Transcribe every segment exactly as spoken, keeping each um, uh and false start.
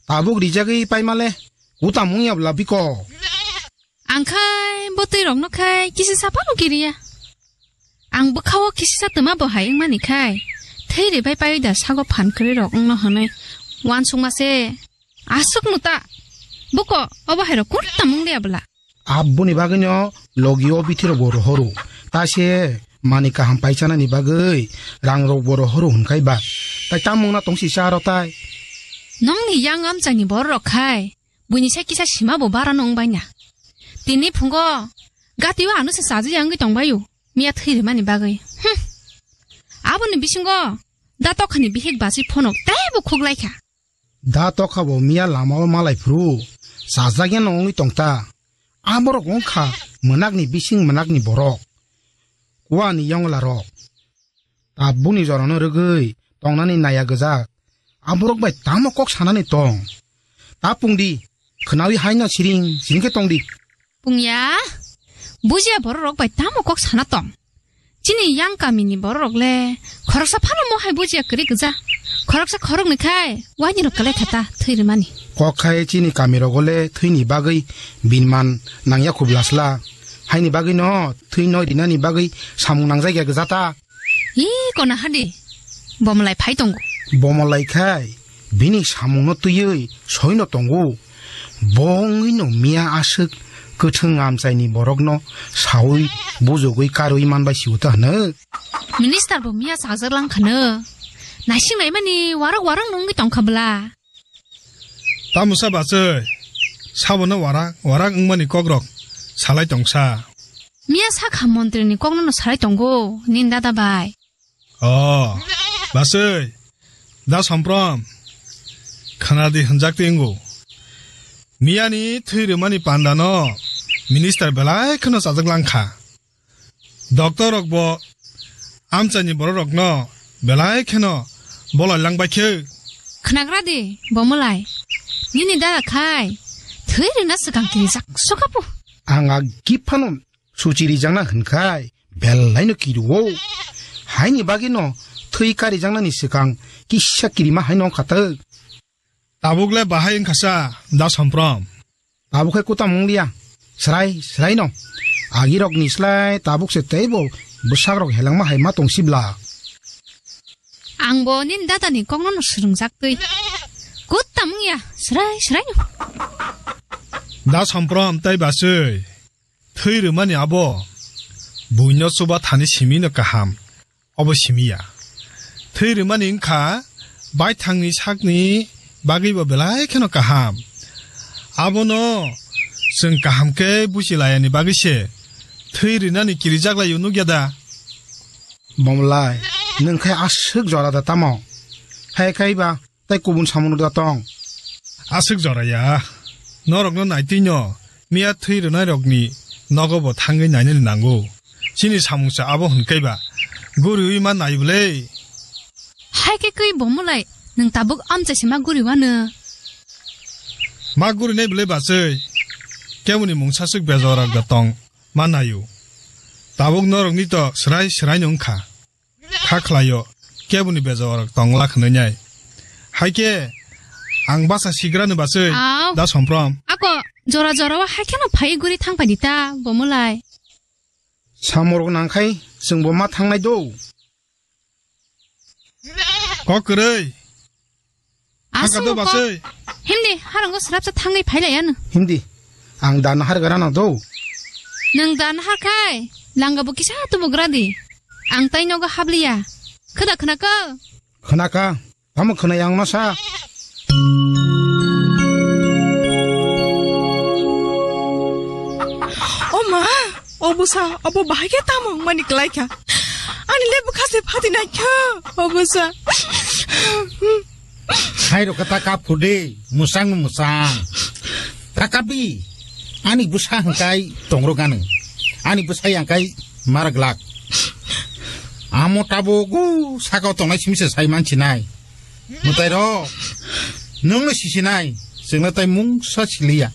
Tabuk rijagwi paimale, kutam wngya bla biko. Ang khai bo twi rokno khai kisi saphano kiriya. Ang bwkhao kisi sa twma bo hai wngmani khai. Thwi ribai paiwi da sago phan kwrwi rok wngno hwnwi. Wansukma se. Aswk no ta. Buko, obo hai rok kurtam wng liya bla. Aboni bagwino logi o bithi rok bo rohoro. Ta se mani kaham paichanani bagwi rang rok bo rohoro hwnkhai ba. Tai tam wngna tongsi sa aro tai. Nongni yang amchaini borok rok khai. Buini sai kisa sima bo bara no wngbai na. Tini phungo gati o ano se chaji ya wngwi tongbai o. Miya thwi rimani bagwi. Hm. Aboni bisingo da tokhani bihik basi phonok tei bo khuklai kha. Da tokha bo miya lama o malai phuru. Chajak ya no wngwi tong ta. Aborok wngkha mwnakni bising mwnakni borok. Kuani yongla rok. Tabukni jorano rwgwi tongnani naya gwjak. Aborok bai tamo kok sanani tong? Ta pungdi, khwnawi haino siring siring khe tongdi. Pungya, bujiya bororok bai tamo kok sana tong? Chini yang kamini bororok le khoroksa phano mo hai bujiya kwrwi gwja. Khoroksa khoroknwi khai waini rok kwlai kha ta thwi rwmani. Kok khai chini kamirogo le thwini bagwi binman nangya khub lasla. Haini bagwi no thwi noi rinani bagwi samung nangjak ya gwja ta. Ih, kona hadi. Bomlai phai tongo. Bomlai khai, bini samungno twiwi soino tongo. Bo wngwino miya aswk kwthwng amchaini borokno sawi bujugwi karwi manbai siyo ta hwno. Minister bo miya chajak lang khano. Naising naimani warok warok no wngwi tongkha bwla. Tamusa bachwi, sabono warak, warak wngmani kokrok salai tongsa. Miya sakha montrini kokno no salai tongo, nini dada bai. O, bachwi, da Somprom, khwnadi hwnjak twi wngo. Miyani thwi rwmani pandano minister belai kheno chajak langkha. Doctor rok bo amchaini borok rokno belai kheno bolai langbai khe. Khnagra di, Bomolai. Nini dada khai thwi rwna swkang kirijak sukapu. Ang agi phano suchi rijakna hwnkhai belaino kiruo. Haini bagwino thwi karijaknani swkang kisa kirima haino khatok. Tabuk le bahai wngkha sa, da Somprom. Tabuk khe kutam wng liya. Srai, srai no. Agi rok ni slai tabuk se teibo bwsak rok helengma hai ma tong sibla. Ang bo nini dada ni kok no no swrwngjak twi. Kutam wng ya, srai, srai no. Da Somprom tai bachwi. Thwi rwmani abo buino chuba thani simi no kaham. Obo simi ya. Thwi rwmani wngkha baithangni sakni bagwi bo belai kheno kaham. Abono chwng kaham khe buchi layani bagwi se thwi rwnani kirijak lai o nukya da? Bomlai, nwng khe aswk jora da tamo? Hai khai ba tei kubun samung da tong? Aswk jora ya. Norokno naitwino miya thwi rwnairokni nogo bo thangwi nainani nango. Chini samungsa abo hwnkhe ba guriwi ma nai bwle. Hai khe kwi Bomolai, nwng tabuk amchai se ma guri wano? Ma gurinai bwle bachwi. Keboni mungsa swk bejorok da tong ma naio. Tabuk norokni to swrai swraino wngkha. Kha khlaio, keboni bejorok tongla khwnwi nai. Hai khe ang basa sigrani bachwi. Au. Da Somprom. Ako, jora jora o hai kheno phai guri thang paidi ta, Bomolai. Samorok nangkhai chwngbo ma thangnai do. Kok kwrwi. Aswk Haka do kok. Bachwi. Himdi, harango srapsa thangwi phailai ano. Himdi, ang da nahar gara no do. Nwng da nahar khai, langa bo kisa tubugra di. Ang tai nogo habliya. Khwda khwnakha? Khwnakha. Tamo khwnai ang no sa. O ma, o bwsa, obo bahai khe tamo wngmani kwlai kha. Ani le bwkha se phati nai kha, o bwsa. Hai rok khe ta kap phur di, musang musang. Ta kap di, ani bwsa hwnkhe tongrok gano. Ani bwsa yang kai marak lak. Amo tabuk o sakao tongnai simi se sai mansinai. Mwtai rok, nwng no sisinai, chwngno tai mungsa siliya.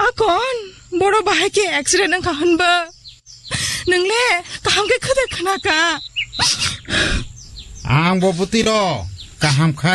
Akon, boro bahai khe accident wngkha hwnba? Nwng le kaham khe khwda khwnakha. Ang bo bwtwi rw, kaham khai.